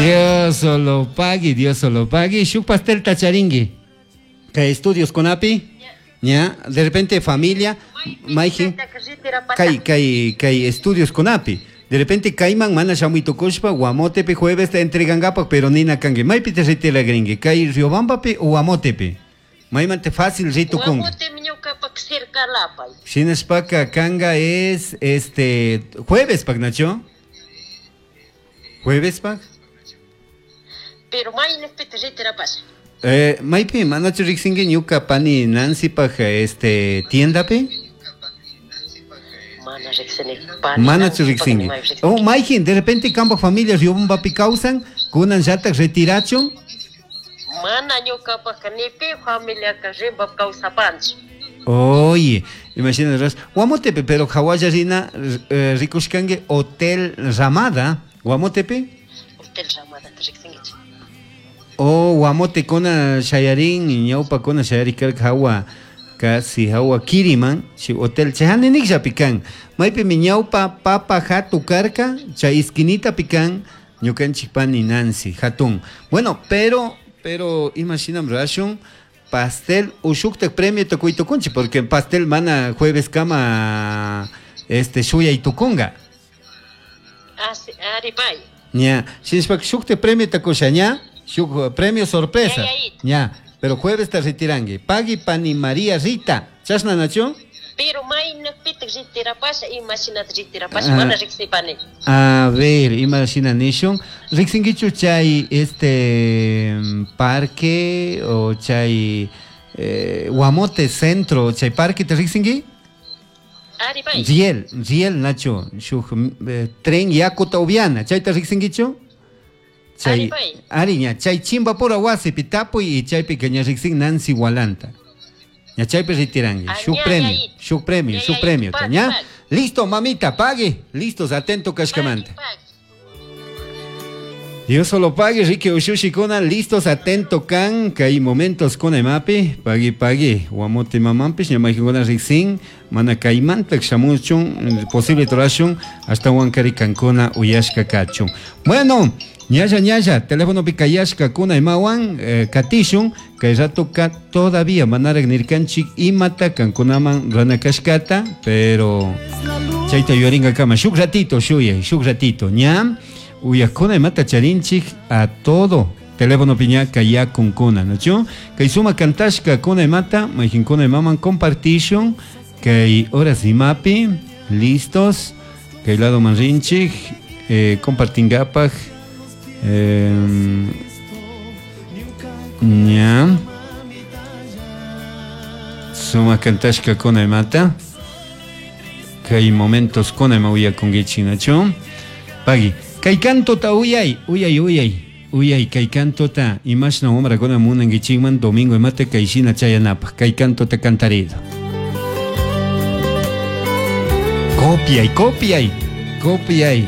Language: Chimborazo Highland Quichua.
Dios solo pagui, Dios solo pagui. Shuk pastelta charingui. Kay estudios kunapi, ña, de repente familia, mayjin, kay, kay, kay estudios kunapi. De repente kayman mana shamuy tukushpa Guamotepi juevesta entregangapak, pero nina kanki. Maypi te retiragrinki? Kay Riobambapi o Guamotepi? Maymanta fácil ritukunki. Guamotemi ñukapak cercalapay. Shinashpaka kanga es este jueves pak, Nacho? Jueves pak? Pero maynipita retirapasha. Maypi manachu riksinki ñuka pani Nancy pak este tiendapi? Mana riksini, pani Manachu Nancy pak riksinki. ni maypi Oh, riksinki. mayjin, de repente kampak familia Riobambapi kawsan, kunan llatak retirachun? Mana ñukapakka ni pi familiaka Riobambapi kawsapanchu. Oye, imagina ras, Guamotepe, pero hawalla rina, rikushkanki Hotel Ramada, Guamotepe? Hotel Ramada ta riksinkichik. Oh, Guamote kuna shayarin, ñawpa kuna shayari karka hawa, casi hawa Kiriman, si hotel chayani niklla pikan. Maypimi ñawpa papa hatu karka, chay esquinita pikan, ñukanchik pani Nancy, hatun. Bueno, pero imashinam rashun, pastel ushuktak premio tukuy tukunchi, porque pastel mana jueves kama este shuyay tukunga. Ah, sí, ari pay. Ña, shinashpaka shuktak premio tukusha, ña, shuk premio sorpresa. Ya, ya, ya. Ña, pero jueves te retirangue. Pagui pani María Rita. Chashna nacho? Pero maynapitaq retirapasha, imashinata retirapasha, Ah. mana riksipani. A ver, imashina nishun. Riksinkichu chay este parque o chay Guamote centro, chay parque te riksinki? Ari pay. Riel, riel Nacho, shuk tren yakuta ubiana, chayta riksinkichu? Chay, Ari pay. ari ña, chay Chimbapura wasipi tapuy y chaypi que ña riksin Nancy Walanta. Ña chaypi retirangue. Ah, Shuk ña, premio, ña, ña. shuk premio, Ña, shuk ña, premio, pagui, ña. pagui. Listo, mamita, pague. Listos, atento kashkamanta. Pagui, pagui. Dios solo pague, Ricky Ushushikuna, listos, atento kan, kay momentos con emapi, pagui pagui, guamote mamampis, ñamaykuna riksin, mana kaymantak shamuchun, posible torashun, hasta huancari kankuna uyashka kachun. Bueno, ñalla ñalla, teléfono pikayashka kuna emawan, katishun, kay rato ka todavía manarek nirkanchik imata kankunaman ranakashkata, pero chayta yuyaringa kama, shuk ratito, shuyay, shuk ratito, ña. Uyakuna imata charinchik a todo teléfono piñaca ya con kuna, ¿no? Kay suma kantashka kuna imata, mayjinkuna imaman compartishun, kay horas imapi, listos, kay lado manrinchik, compartingapaj, ña. Suma kantashka kuna imata, kay momentos kuna ima uyakunkichik, ¿no? Pagui. Kay cantota uyay, uyay, uyay, uyay, kay cantota, imashna wamrakuna munankichikman domingo imata kayshina chayanapaj, kay cantota cantarido. Copiay, copiay, copiay.